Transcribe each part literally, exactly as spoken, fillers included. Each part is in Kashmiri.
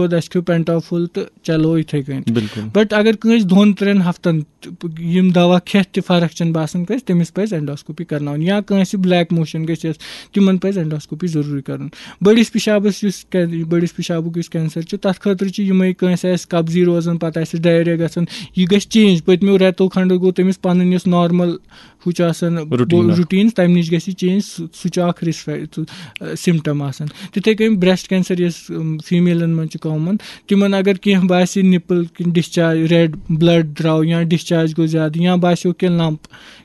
دود، اَسہِ کھیوٚو پینٹافول تہٕ چلو یِتھَے کٔنۍ۔ بِلکُل۔ بٹ اگر کٲنٛسہِ دۄن ترٛٮ۪ن ہفتن تہٕ یِم دوا کھٮ۪تھ تہِ فرق چھَنہٕ باسان کٲنٛسہِ، تٔمِس پَزِ اینڈوسکوپی کرناوٕنۍ۔ یا کٲنٛسہِ بلیک موشن گژھِ، تِمن پَزِ اینڈوسکوپی ضروٗری کرُن۔ بٔڑِس پِشابس یُس کین-، بٔڑِس پِشابُک یُس کینسر چھُ، تَتھ خٲطرٕ چھِ یِمے، کٲنٛسہِ آسہِ قبضی روزان، پَتہٕ آسہِ ڈایریا گژھان، یہِ گژھِ چینج۔ پٔتمیو رٮ۪تو کھنڈو گوٚو تٔمِس پَنٕنۍ یۄس نارمل ہُہ چھُ آسان Routine اکھ۔ روٹیٖن، تَمہِ نِش گژھِ چینج، سُہ سُہ چھُ اکھ رِسک سِمٹم آسان۔ تِتھے کٔنۍ بریسٹ کینسر یۄس فیمیلن منٛز چھُ کامن، تِمن اگر کینٛہہ باسہِ، نِپل کِنۍ ڈِسچارج، ریڈ بلڈ درٛاو یا ڈِسچارج گوٚو زیادٕ یا باسیو کینٛہہ لمپ،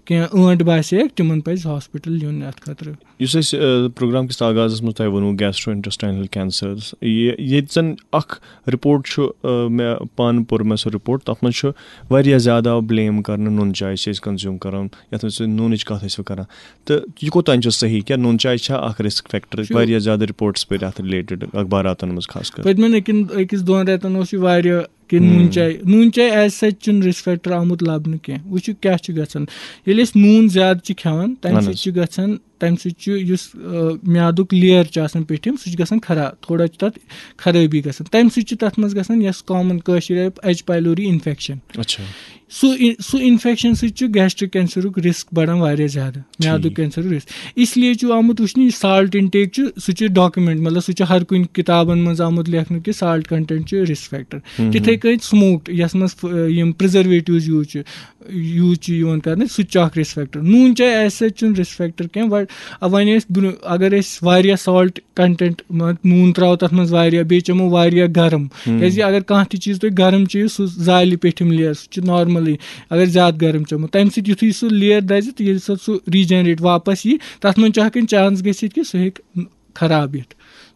کینٛہہ ٲنٹ باسیکھ، تِمن پزِ ہاسپٹل یُن اتھ خٲطرٕ۔ یُس اَسہِ پروگرام کِس آغازس منٛز تۄہہِ ووٚنوُ گیسٹرو انٹسٹاینل کینسرز، یہِ ییٚتہِ زن اکھ رپورٹ چھُ، آ، مےٚ پانہٕ پوٚر مےٚ سُہ رپورٹ، تتھ منٛز چھُ واریاہ زیادٕ آو بلیم کرنہٕ نُن چاے چھِ أسۍ کنزیوم کران، یتھ منٛز أسۍ نوٗنٕچ کتھ ٲسۍ کران۔ تہٕ یہِ کوٚت تام چھُ صحیح؟ کیٛاہ نوٗن چاے چھا اکھ رسک فیکٹر؟ چھُ۔ واریاہ زیادٕ رپورٹس پٔرۍ اتھ رِلیٹڈ اخباراتن منٛز خاص کر۔ پٔتمٮ۪ن أکِن أکِس دۄن رٮ۪تن اوس یہِ واریاہ کہِ ہُم۔ نوٗن چاے، نوٗن چاے ایز سچ چھُنہٕ رِسک فیکٹر آمُت لبنہٕ کینٛہہ۔ وٕچھِو کیٛاہ چھُ گژھان، ییٚلہِ أسۍ نوٗن زیادٕ چھِ کھٮ۪وان، تمہِ اہن سۭتۍ حظ۔ چھُ گژھان، تمہِ سۭتۍ چھُ یُس آ، میادُک لیر چھُ آسان پیٚٹھِم، سُہ چھُ گژھان خراب، تھوڑا چھُ تتھ خرٲبی گژھان۔ تمہِ سۭتۍ چھُ تتھ منٛز گژھان یۄس کامن کٲشِر ایچ پایلوری انفیکشن۔ اچھا۔ سُہ اِن-، سُہ انفیکشن سۭتۍ چھُ گیسٹرک کینسرُک رسک بڑان واریاہ زیادٕ، میادُک ٹھیٖک۔ کینسرُک رسک۔ اس لیے چھُ آمُت وٕچھنہٕ، یہِ سالٹ انٹیک چھُ، سُہ چھُ ڈاکومینٹ، مطلب سُہ چھُ ہر کُنہِ کِتابن منٛز آمُت لیکھنہٕ کہِ سالٹ کنٹینٹ چھُ رسک فیکٹر۔ ہُم۔ تِتھے کٔنۍ سموکڈ، یتھ منٛز ف-، یِم پرزرویٹوز یوٗز چھِ، یوٗز چھِ یِوان کرنہٕ، سُہ تہِ چھُ اکھ رسک فیکٹر۔ نوٗن چاے ایز سچ چھُنہٕ رسک فیکٹر کینٛہہ، وۄنۍ، وۄنۍ ٲسۍ برٛونٛہہ، اگر أسۍ واریاہ سالٹ کنٹینٹ، مطلب نوٗن ترٛاوو تَتھ منٛز واریاہ، بیٚیہِ چٮ۪مو واریاہ گرم۔ ہُم۔ کیٛازِ اگر کانٛہہ تہِ چیٖز تُہۍ گرم چیٚیِو، سُہ زالہِ پیٚٹھِم لیر، سُہ چھُ نارملی۔ اگر زیادٕ گرم چٮ۪مو، تَمہِ سۭتۍ یُتھُے سُہ لیر دَزِ تہٕ ییٚلہِ سۄ سُہ ریجنریٹ واپس یی، تَتھ منٛز چھُ ہٮ۪کان چانس گٔژھِتھ کہِ سُہ ہیٚکہِ خراب یِتھ۔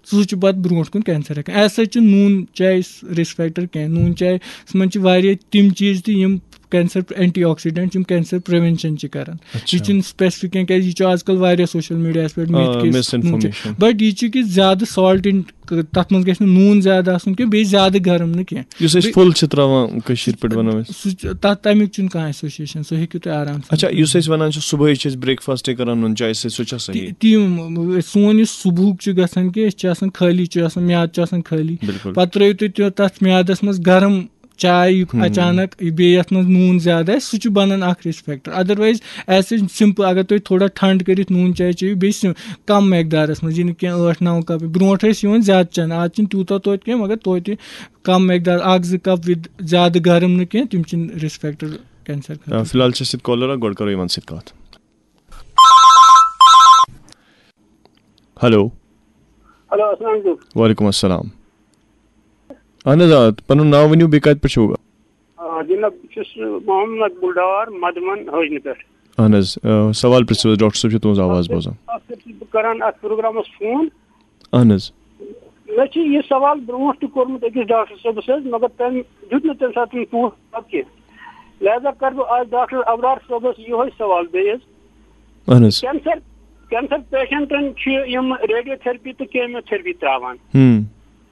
سُہ چھُ پَتہٕ برونٛٹھ کُن کینسر ہٮ۪کان۔ ایز سچ چھُ نوٗن چاے رسک فیکٹر کینٛہہ۔ نوٗن چاے منٛز چھِ واریاہ تِم چیٖز تہِ یِم کینسر، اینٹی آکسیڈنٹ، یِم کینسر پریونشن چھِ کران۔ اچھا۔ یہِ چھُنہٕ سپیسفک کینٛہہ، کیٛازِ یہِ چھُ آز کل واریاہ سوشل میڈیاہس پٮ۪ٹھ آ، myth کہِ misinformation۔ بٹ یہِ چھُ کہِ زیادٕ سالٹ ان، تتھ منٛز گژھِ نہٕ نوٗن زیادٕ آسُن کینٛہہ، بیٚیہِ زیادٕ گرم نہٕ کینٛہہ۔ یُس أسۍ بیٚیہِ پھُل چھِ ترٛاوان کٔشیٖرِ پٮ۪ٹھ بناوان أسۍ۔ سُہ چھُ، تتھ، تمیُک چھُنہٕ کانٛہہ ایسوسیشن، سُہ ہیٚکِو تُہۍ آرام سان۔ اچھا، یُس أسۍ وَنان چھِ صُبحٲے چھِ أسۍ برٛیکفاسٹے کَران نُن چاے سۭتۍ، سُہ چھا صحیح؟ تی، تی، سون یُس صُبحُک چھُ گژھان کہِ أسۍ چھِ آسان خٲلی، چھُ آسان، میادٕ چھُ آسان خٲلی۔ بِلکُل۔ پَتہٕ ترٛٲیِو تُہۍ تہِ تَتھ میادَس منٛز گرم چاے یُک ہُم۔ اچانک، بیٚیہِ یَتھ منٛز نوٗن زیادٕ آسہِ، سُہ چھُ بَنان اَکھ risk factor. Otherwise is such simple, اگر تُہۍ تھوڑا ٹھنٛڈ کٔرِتھ نوٗن چاے چیٚیِو، بیٚیہِ سِم-، کم مقدارَس منٛز، یہِ نہٕ کینٛہہ ٲٹھ نَو کپ۔ برونٛٹھ ٲسۍ یِوان زیادٕ چٮ۪نہٕ، آز چھِنہٕ تیوٗتاہ توتہِ کینٛہہ، مگر توتہِ کم مقدار، اَکھ زٕ کپ with زیادٕ گرم نہٕ کینٛہہ، تِم چھِنہٕ رِسک فیکٹر کینسر خٲطرٕ۔ آ، فی الحال چھِ أسۍ سۭتۍ کالر اکھ، گۄڈٕ کرو یِمن سۭتۍ کتھ۔ ہیلو۔ ہیلو، السلام علیکم۔ وعلیکم السلام۔ اہن حظ، آ، پنُن ناو ؤنِو، بیٚیہِ کتہِ پٮ۪ٹھ چھِو؟ آ، جناب، بہٕ چھُس محمد مقبول ڈار، مدمن حٲجنہٕ پٮ۪ٹھ۔ اہن حظ، آ، سوال پرژھِو حظ، ڈاکٹر صٲب چھِ تُہنٛز آواز بوزان۔ اکھ حظ چھُس بہٕ کران اتھ پروگرامس فون۔ اہن حظ۔ مےٚ چھُ یہِ سوال برونٛٹھ تہِ کوٚرمُت أکِس ڈاکٹر صٲبس حظ، مگر تٔمۍ دیُت نہٕ تَمہِ ساتہٕ پوٗرٕ جواب کینٛہہ۔ لہذا کرٕ بہٕ آز ڈاکٹر ابرار صٲبس یِہوٚے سوال بیٚیہِ حظ۔ اہن حظ۔ کینسر، کینسر پیشنٹن چھِ یِم ریڈیو تھرپی تہٕ کیمو تھرپی تراوان۔ ہم۔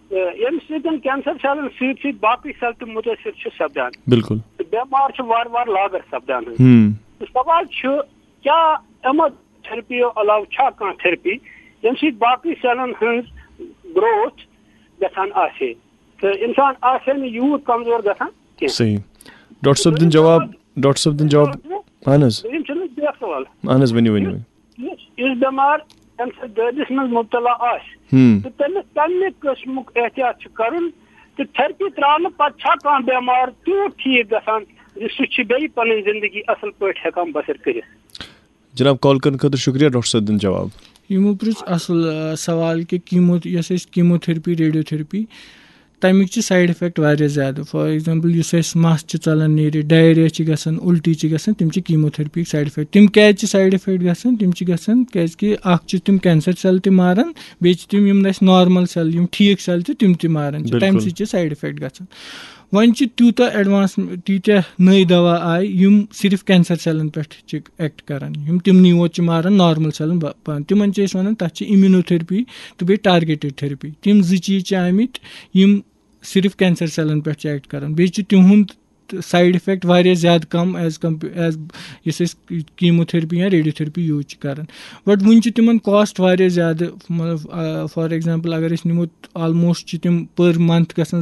تہٕ ییٚمہِ سۭتۍ کینسر سیلن سۭتۍ سۭتۍ باقٕے سیل تہِ مُتٲثر چھِ سپدان۔ بِلکُل۔ تہٕ بٮ۪مار چھِ وارٕ وارٕ لاگر سپدان حظ۔ ہم۔ تہٕ سوال چھُ، کیٛاہ یِمو تھرپیو علاوٕ چھا کانٛہہ تھرپی ییٚمہِ سۭتۍ باقٕے سیلن ہٕنٛز گروتھ گژھان آسہِ ہے تہٕ انسان آسہِ ہے نہٕ یوٗت کمزور گژھان کینٛہہ؟ صحیح۔ ڈاکٹر صٲب دِن جواب، ڈاکٹر صٲب دِن جواب۔ اہن حظ۔ دوٚیِم چھُ مےٚ بیٛاکھ سوال۔ اہن حظ، ؤنِو، ؤنِو، ؤنِو۔ یُس، یُس بٮ۪مار کینسر دٲدِس منٛز مُبتلا آسہِ ہم۔ تہٕ تٔمِس کَمہِ قٕسمُک احتیاط چھُ کَرُن تہٕ تھرپی ترٛاونہٕ پتہٕ چھا کانٛہہ بٮ۪مار تیوٗت ٹھیٖک گژھان زِ سُہ چھُ بیٚیہِ پنٕنۍ زندگی اصل پٲٹھۍ ہٮ۪کان بسر کٔرِتھ؟ جناب، کال کرنہٕ خٲطرٕ شُکریہ، ڈاکٹر صٲب دِن جواب۔ یِمو پرُژھ اصل، آ، سوال کہِ کیمو، یۄس أسۍ کیمو تھرپی، ریڈیو تھرپی، تَمِکۍ چھِ سایڈ افیکٹ واریاہ زیادٕ۔ فار ایگزامپل، یُس اَسہِ مَس چھِ ژَلان نیٖرِتھ، ڈایریا چھِ گژھان، اُلٹی چھِ گژھان، تِم چھِ کیمو تھرپی سایڈ افیکٹ۔ تِم کیازِ چھِ سایڈ افیکٹ گژھان؟ تِم چھِ گژھان کیازِ کہِ اکھ چھِ تِم کینسر سیل تہِ ماران، بیٚیہِ چھِ تِم یِم نہٕ اَسہِ نارمل سیل، یِم ٹھیٖک سیل چھِ، تِم تہِ ماران چھِ۔ تَمہِ بِلکُل۔ سۭتۍ چھِ سایڈ افیکٹ گژھان۔ وۄنۍ چھِ تیوٗتاہ ایڈوانس، تیٖتیٛاہ نٔے دوا آیہِ، یِم صرف کینسر سیلن پٮ۪ٹھ چھِ ایکٹ کران، یِم تِمنٕے یوت چھِ ماران، نارمل سیلن با-، پان۔ تِمن چھِ أسۍ ونان، تتھ چھِ امیونوتھرپی تہٕ بیٚیہِ ٹارگیٹڈ تھرپی۔ تِم زٕ چیٖز چھِ آمٕتۍ، یِم صرف کینسر سیلن پٮ۪ٹھ چھِ ایکٹ کران۔ بیٚیہِ چھِ تِہُنٛد سایڈ اِفیکٹ واریاہ زیادٕ کَم ایز کَمپ ایز یُس أسۍ کیٖموتھرپی یا ریڈیوتھرپی یوٗز چھِ کَران۔ بٹ وٕنہِ چھِ تِمَن کاسٹ واریاہ زیادٕ، مطلب فار ایگزامپل اگر أسۍ نِمو، آلموسٹ چھِ تِم پٔر منتھ گژھان